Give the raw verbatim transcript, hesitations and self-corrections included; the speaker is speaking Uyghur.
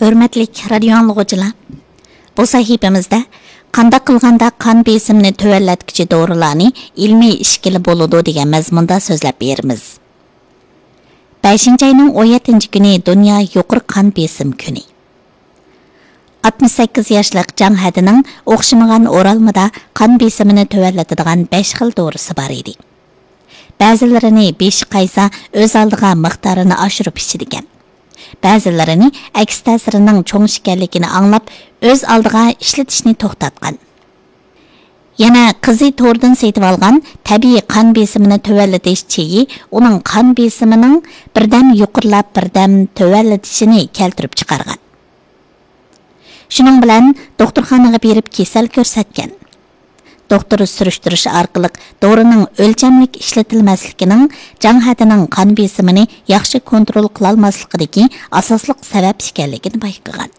ھۆرمەتلىك رادىيو ئاڭلىغۇچىلار، بۇ سەھىپىمىزدە قانداق قىلغاندا قان بېسىمىنى تۆۋەنلەتكۈچى دورىلارنى ئىلمىي ئىچكىلى بولىدۇ دېگەن مەزمۇندا سۆزلەپ بېرىمىز. بەشىنچى ئاينىڭ ئون يەتتىنچى كۈنى دۇنيا يۇقىرى قان بېسىم كۈنى. ئاتمىش سەككىز ياشلىق جاڭ ھەدىنىڭ ئوخشىمىغان ئورالمىدا قان بېسىمىنى تۆۋەنلىتىدىغان بەش خىل دورىسى بار ئىدى. بەزىلىرىنى بېشى قايسا ئۆز ئالدىغا مىقدارىنى ئاشۇرۇپ ئىچىدىكەن. بەزىلىرىنى ئەكس تەسىرىنىڭ چوڭ ئىكەنلىكىنى ئاڭلاپ، ئۆز ئالدىغا ئىشلىتىشنى توختاتقان. يەنە قىزى توردىن سېتىۋالغان تەبىئىي قان بېسىمىنى تۆۋەنلىتىش چېيى ئۇنىڭ قان بېسىمىنىڭ بىردەم يۇقىرىلاپ، بىردەم تۆۋەنلىتىشىنى كەلتۈرۈپ چىقارغان. شۇنىڭ بىلەن دوختۇرخانىغا بېرىپ كېسەل كۆرسەتكەن. دوختۇر سۈرۈشتۈرۈش ئارقىلىق دورىنىڭ ئۆلچەملىك ئىشلىتىلمەسلىكىنىڭ جاڭ ھەدىنىڭ قان بېسىمىنى ياخشى كونترول قىلالماسلىقىدىكى ئاساسلىق سەۋەب ئىكەنلىكىنى بايقىغان.